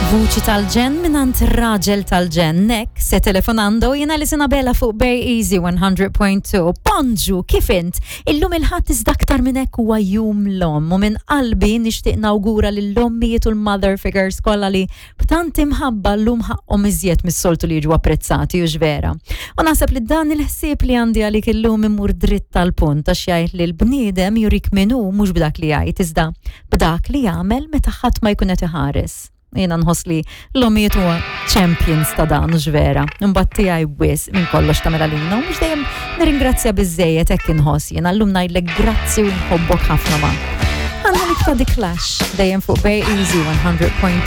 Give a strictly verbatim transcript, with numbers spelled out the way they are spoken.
Vuċi tal-ġenn mingħand raġel tal-ġenn. Nek se telefonando jiena li Sinabela fuq Bay Easy one hundred point two. Bonġu, kif int? Illum il-Ħadd, iżda aktar minn hekk huwa Jum l-Omm u minn qalbi nixtieq nawgura lill-ommijiet u l-mother figures kollha li b'tant imħabba llum ħaqqhom iżjed mis-soltu li jiġu apprezzati, u vera. U naħseb li dan il-ħsieb li għandi għalik illum imur dritt tal-punt, għax jgħid li l-bniedem jurik min hu mhux b'dak li jgħid, iżda b'dak li jagħmel meta ħadd ma jkun qed iħares. Jiena nħoss li l-omijiet huwa champions ta' dan, u vera. Imbagħad tiegħi wisq minn kollox ta' Melalina u mhux dejjem nirringrazzja biżejjed, hekk inħoss jiena. Llum ngħidlek grazzi u nħobbok ħafna, ma. Għandna ta' The Clash dejjem fuq Bay Easy one hundred point two.